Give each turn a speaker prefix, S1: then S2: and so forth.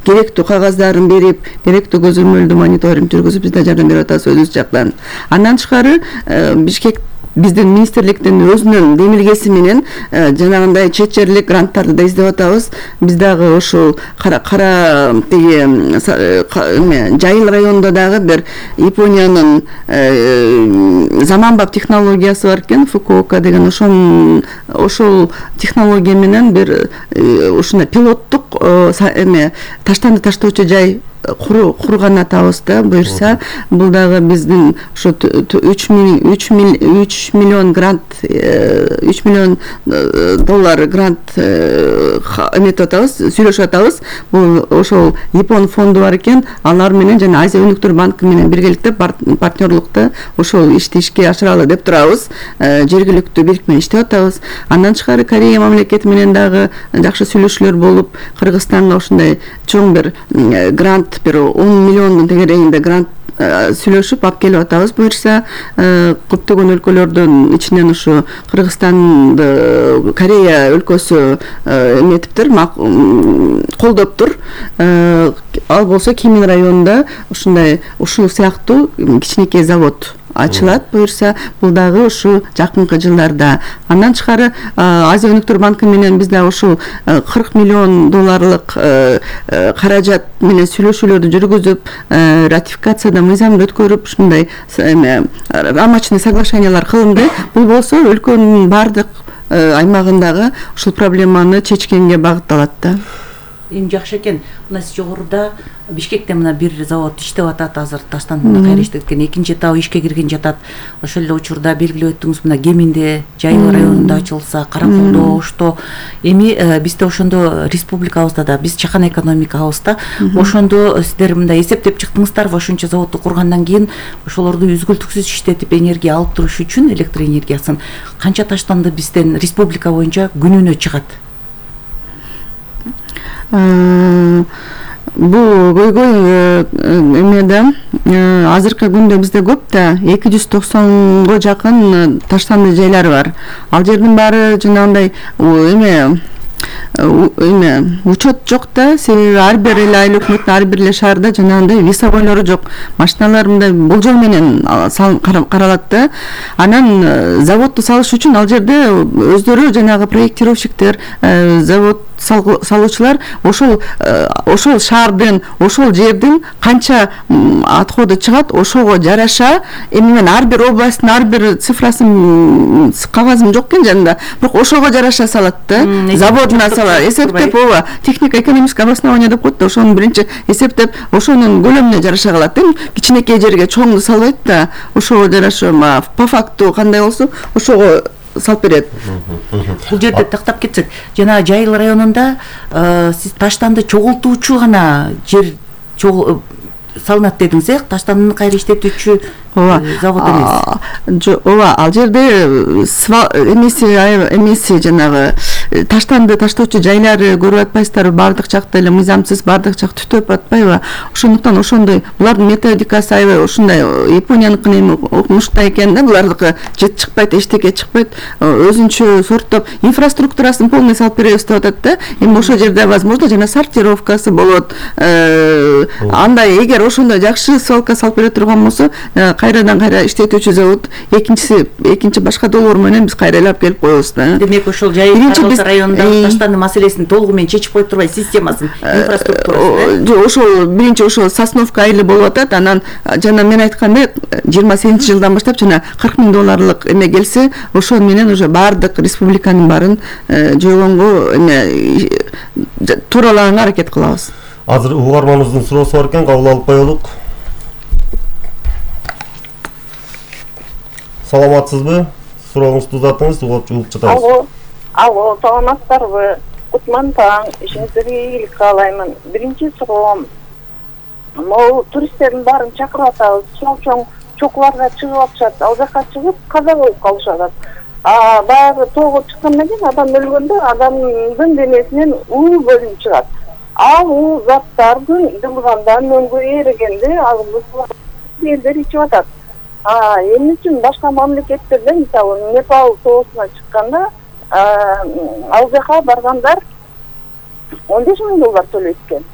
S1: керектүү кагаздарын берип, керектүү көзөмөлдүү мониторинг жүргүзүп биз да жардам берип атабыз өзүбүз жактан. Андан тышкары Бишкек биздин министрликтин өзүнүн демилгеси менен жанагындай чет жерлик гранттарды да издеп атабыз. Биз дагы ошол кара тиги Жайыл районунда дагы бир Япониянын заманбап технологиясы бар экен, Фукуока деген, ошол технология менен бир ушундай пилоттук таштанды таштоочу жай курган атабыз да. Буюрса бул дагы биздин ошо 3 миллион грант, 3 миллион доллар грант эметип атабыз, сүйлөшүп атабыз. Бул ошол Япон фонду бар экен, алар менен жана Азия өнүктүр банкы менен биргеликте партнерлыкта ошол ишти ишке ашыралы деп турабыз. Жергиликтүү бийлик менен иштеп атабыз. Андан тышкары Корея мамлекети менен дагы жакшы сүйлөшүүлөр болуп, Кыргызстанга ушундай чоң бир грант, бир 10 миллиондун тегерегинде грант сүйлөшүп алып келип атабыз. Буюрса көптөгөн өлкөлөрдүн ичинен ушу Кыргызстанды Корея өлкөсү эметиптир, колдоптур. Ал болсо Кемин районунда ушул сыяктуу кичинекей завод ачылат. Буюрса бул дагы ушу жакынкы жылдарда. Андан тышкары Азия өнүктүр банкы менен биз дагы ушул 40 миллион долларлык каражат менен сүйлөшүүлөрдү жүргүзүп, ратификацияда мыйзамды өткөрүп, ушундай рамочный соглашениялар кылынды. Бул болсо өлкөнүн бардык аймагындагы ушул проблеманы чечкенге багытталат да.
S2: Эми жакшы экен. Мына сиз жогоруда Бишкекте мына бир завод иштеп атат, азыр таштанды кайра иштеп кеткен, экинчи этабы ишке кирген жатат. Ошол эле учурда белгилеп өттүңүз, мына Кеминде, Жайыл районунда ачылса, Караколдо, Ошто. Эми бизде ошондо республикабызда да, биз чакан экономикабызда ошондо сиздер мындай эсептеп чыктыңыздарбы, ошончо заводду кургандан кийин ошолорду үзгүлтүксүз иштетип энергия алып туруш үчүн, электр энергиясын канча таштанды бизден республика боюнча күнүнө чыгат?
S1: Бул көйгөй эмеде азыркы күндө бизде көп да, 290го жакын таштанды жайлар бар. Ал жердин баары жанагындай учет жок да, себеби ар бир эле айыл өкмөттүн ар бир эле шаарда жанагындай весовойлору жок. Машиналар мындай болжол менен каралат да. Анан заводду салыш үчүн ал жерде өздөрү жанагы проектировщиктер, завод салуучулар ошол шаардын, ошол жердин канча отходу чыгат, ошого жараша, эми мен ар бир областтын ар бир цифрасын кагазым жок экен жанында, бирок ошого жараша салат да. Заводуна салат, эсептеп, ооба, технико-экономическое обоснование деп коет да, ошонун биринчи эсептеп, ошонун көлөмүнө жараша калат. Кичинекей жерге чоңду салбайт да, ошого жараша по факту кандай болсо ошого салып берет.
S2: Бул жерде тактап кетсек, жана Жайыл районунда сиз таштанды чогултуучу гана жер салынат дедиңиз, таштандыны кайра иштетүүчү завод эмес.
S1: Ооба, ал жерде эмеси жанагы таштанды таштоочу жайлары көрүп атпайсыздарбы, бардык жакта эле мыйзамсыз, бардык жак түтөп атпайбы? Ошондуктан ошондой булардын методикасы аябай ушундай Японияныкын эми окумуштай экен да, булардыкы жет чыкпайт, эчтеке чыкпайт, өзүнчө сорттоп инфраструктурасын полный салып беребиз деп атат да. Эми ошол жерде возможно жана сортировкасы болот. Андай эгер ошондой жакшы свалка салып бере турган болсо, кайрадан кайра иштетүүчү завод экинчи башка долбоор менен биз кайра алып келип коебуз да.
S2: Демек ошол Жайыл районундагы таштанды маселесин толугу менен чечип кое турбай, системасын, инфраструктурасын.
S1: Ошол биринчи ошол Сосновка айылы болуп атат, анан жана мен айткандай 28-жылдан баштап жана 40 000 долларлык эме келсе, ошол менен уже бардык республиканын баарын жойгонго эме тууралаганга аракет кылабыз.
S3: Азыр угарманыбыздын суроосу бар экен, кабыл алып коелук. Саламатсызбы? Сурооңузду узатыңыз, угуп жатабыз.
S4: Алло, саламатсыздарбы? Кутман таң, ишиңиздерге ийгилик каалаймын. Биринчи суроом, могу туристтердин баарын чакырып атабыз, чоң чокуларга чыгып атышат, ал жакка чыгып каза болуп калышат. Баягы тоого чыккандан кийин адам өлгөндө адамдын денесинен уу бөлүнүп чыгат. Ал уу заттардын жылгандан өңгө эригенде ал элдер ичип атат. Эмне үчүн башка мамлекеттерде, мисалы Непал тоосуна чыкканда, ал жака баргандар 15 000 доллар төлөйт экен.